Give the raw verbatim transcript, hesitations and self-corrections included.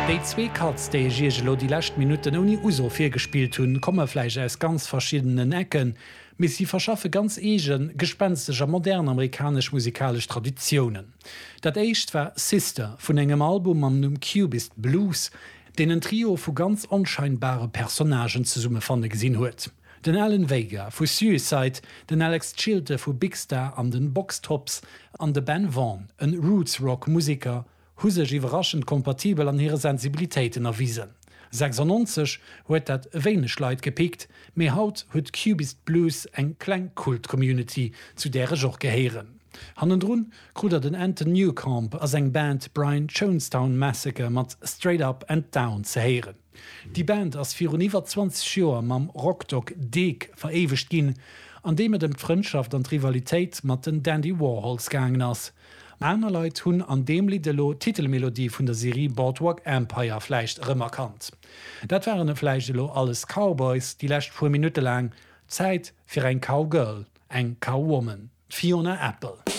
Déi zwee Cuts, déi ech iech elo déi lescht Minutten ouni Uso virgespillt hunn, komme vläicht aus ganz verschiddenen Ecken, mee si verschaffe ganz eegen, gespenstesch a modern amerikanesch musikalesch Traditiounen. Dat éischt war Sister vun engem Album mam Numm Cubist Blues, deen en Trio vu ganz onscheinbare Personnagen zesummefanne gesinn huet. Den Alan Vega vu Suicide, den Alex Chilton vu Big Star an den Box Tops an de Ben Vaughn, en Roots-Rock-Museker, hu sech iwwerraschend kompatibel an hire Sensibilitéiten erwisen. sechsundneunzeg huet dat wéineg Leit gepickt, mee haut huet Cubist Blues eng kleng Kult-Community, zu där ech och gehéieren. Hannendrun krut der den Anton Newcombe a seng Band Brian Jonestown Massacre mat Straight Up and Down ze héieren. Déi Band ass virun iwwer zwanzeg Joer mam Rockdoc Dig veréiwegt ginn, an deem et ëm d'Frëndschaft an d'Rivalitéit mat den Dandy Warhols gaangen ass. Aner Leit hunn an deem Lidd elo d'Titelmelodie vun der Serie Boardwalk Empire vläicht erëmerkannt. Dat waren vläicht elo alles Cowboys déi lescht puer Minutte laang. Zäit fir eng Cowgirl, eng Cowwoman, d'Fiona Apple.